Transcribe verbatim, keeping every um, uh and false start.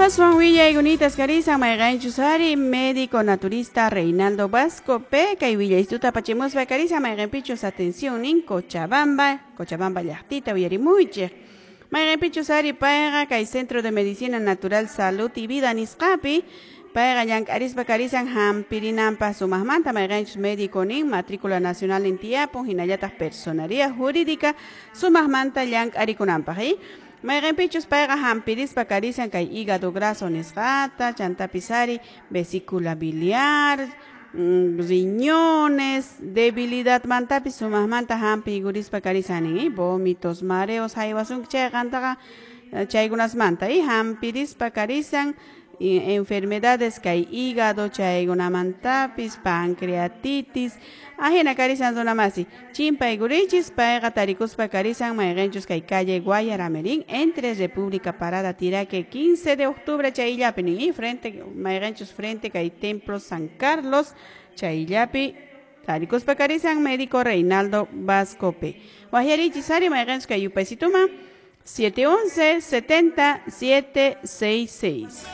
Aswan willaykunita karisan mayqanchus ari médico naturista Reinaldo Vasco P kay willaystuta apachimuspa karisan mayqanpichus atención nin Cochabamba, Cochabamba llaqtita uyarimuychik. Mayqanpichus ari payqa kay Centro de Medicina Natural Salud y Vida nisqapi payqa llank'arispa karisan hampirinanpaq sumaqmanta mayqanchus médico nin matrícula nacional en tiyapun hinallataq personería jurídica sumaqmanta llank'arikunanpaq y mayqanpichus payqa hampirispa karisan kay hígado graso nisqata chantapis ari vesícula biliar mm, riñones debilidad mantapis sumaqmanta hampiykurispa karisan nin vómitos mareos haywasunki chayqa qantaqa chaykunasmanta y hampirispa karisan enfermedades kay hígado chaykunamantapis pancreatitis ajina karisan runamasi chimpaykurichis payqa tarikuspa karisan mayqinchus kay calle Guayaramerín entre República Parada Tiraque quince de octubre chayllapi nin y frente mayqinchus frente kay Templo San Carlos chayllapi tarikuspa karisan médico Reinaldo Vasco P. Wajyarichis ari mayqinchus kay yupaysituma siete once setenta siete seis seis.